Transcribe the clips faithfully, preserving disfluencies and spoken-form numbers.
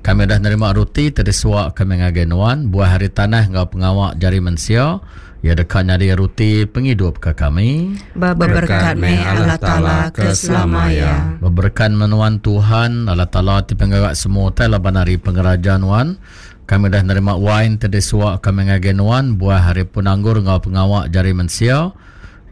Kami udah nerima roti ti disuak kami ngagai nuan, buah ari tanah enggau pengawa jari mensia, ia deka nyadi roti pengidup ke kami. Beberkat meh Allah Taala ke selama iya. Beberkat meh nuan Tuhan, Allah Taala ti pengaga semua utai laban ari pengeraja nuan. Kami udah nerima wain ti disuak kami ngagai nuan, buah ari pun anggur enggau pengawa jari mensia,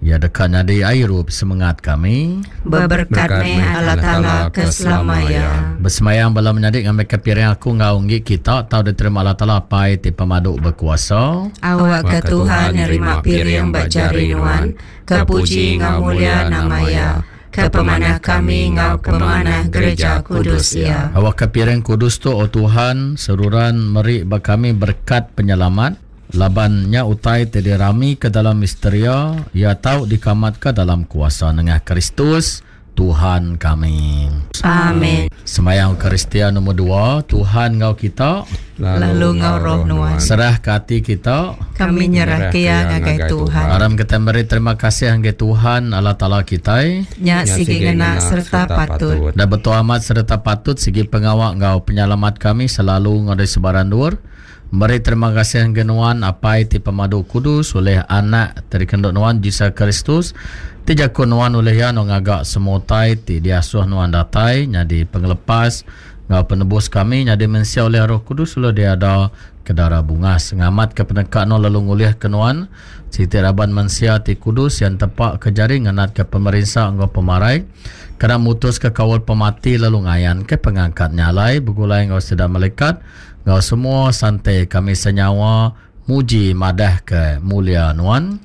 ia deka nyadi airup semengat kami. Beberkat meh Allah Taala ke selama iya. Bersemayang bala menyadi ngambil ke piring aku enggau enggi kita tau diterima Allah Taala Apai ti pemadu berkuasa. Awak ke Tuhan nerima piring ba jari nuan, ke puji enggau mulia nama iya, ke pemanah kami enggau pemanah gereja kudus iya. Awak ke piring kudus tu, O Tuhan, seruran meri ba kami berkat penyelamat, laban nya utai ti dirami ke dalam misteria, ia tau dikamat ke dalam kuasa nengah Kristus Tuhan kami. Amin. Semayang Eucharistia nombor dua, Tuhan ngau kita, lalu ngau roh nuan. Serah ke hati kita, kami nyerah ke ia ngagai Tuhan. Aram kita beri terima kasih ngagai Tuhan Allah Taala kita. Nya sigi ngena serta patut. Dan betul amat serta patut sigi pengawak ngau penyelamat kami selalu ngau dari sebaran luar. Beri terima kasih ngagai nuan Apai ti pemadu kudus oleh anak terikenduk nuan Jesus Kristus ti jaku nuan oleh ia nu ngagak semua utai ti diasuh nuan datai nyadi pengelepas ngau penebus kami nyadi mensia oleh Roh Kudus lalu dia ada kedara bungas ngamat ke peneka nuan lalu ngulih ke nuan siti raban mensia ti kudus yang tepak ke jari ngenat ke pemerinsa ngau pemarai kena mutus ke kawal pemati lalu ngayan ke pengangkat nyalai begulai ngau sida malaikat ngau semua santai kami senyawa muji madah ke mulia nuan.